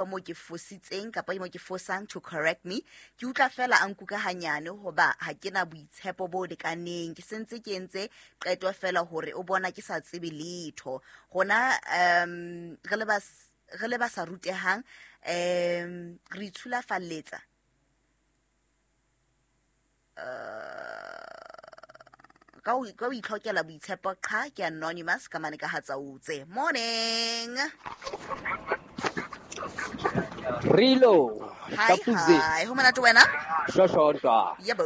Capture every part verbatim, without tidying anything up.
Mo ke fositseng kapa mo ke fosang to correct me. Ke utlwa fela a nkuka hanyane hoba ha ke na boitshepo bo lekaneng. Ke sentse ke entse qeto fela hore o bona ke sa tsebe letho. Rona um re le ba re le ba sa rutehang, um re itshulafalletsa ka ho ka ho itlhokela boitshepo. Qha, ke anonymous ka mane ka Hatsautse. Morning. Rilo. Hi. Kapuze. Hi, ho monate, wena? Shoshontwa. Yebo.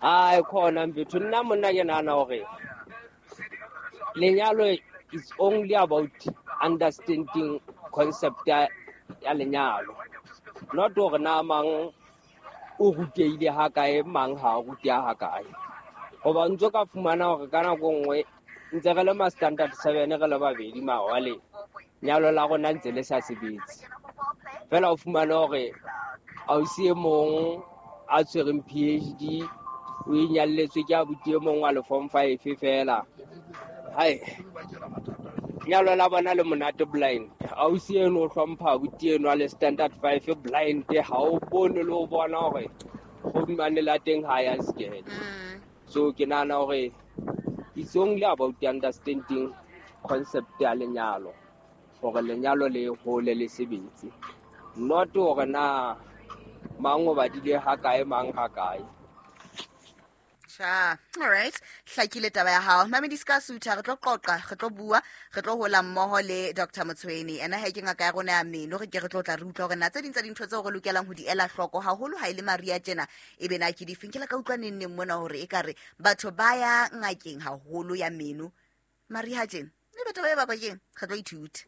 Ai, khona mfethu, nna monna ke nahana hore lenyalo is only about understanding concept ya ya lenyalo, not hore na mang o rutehile ha kae, mang ha a ruteha ha kae, hoba ntso ka fumana hore ka nako nngwe ntse re le ma standard seven re le babedi, mawale nyalo la rona ntse le sa sebetse fela. O fumane hore ausi e mong a tshwereng P H D o inyalletswe ke abuti e mong wa le form five fela. Hai, nyalo la bona le monate blind. Ausi eno o hlompha abuti eno a le standard five blind. Ha o bone le ho bona hore kgodumane la teng ha ya sekele. Mm. So ke nahana hore it's only about understanding concept ya lenyalo, hore lenyalo le hole le sebetse, not hore na mang o badile ha kae, mang ha kae. Cha, all right, hlakile taba ya hao. Mamedi ska sutha, re tlo qoqa, re tlo bua, re tlo hola mmoho le Doctor Motshweni. Ena he ke ngaka ya rona ya meno. Re ke re tlo tla re utlwa hore na tse ding tsa dintho tseo re lokelang ho di ela hloko haholo ha e le mariha tjena ebe na ke difeng. Ke la ka utlwa neng neng mona hore ekare batho ba ya ngakeng haholo ya meno mariha tjena. Ebe taba e bakwa keng? Re tlo ithuta.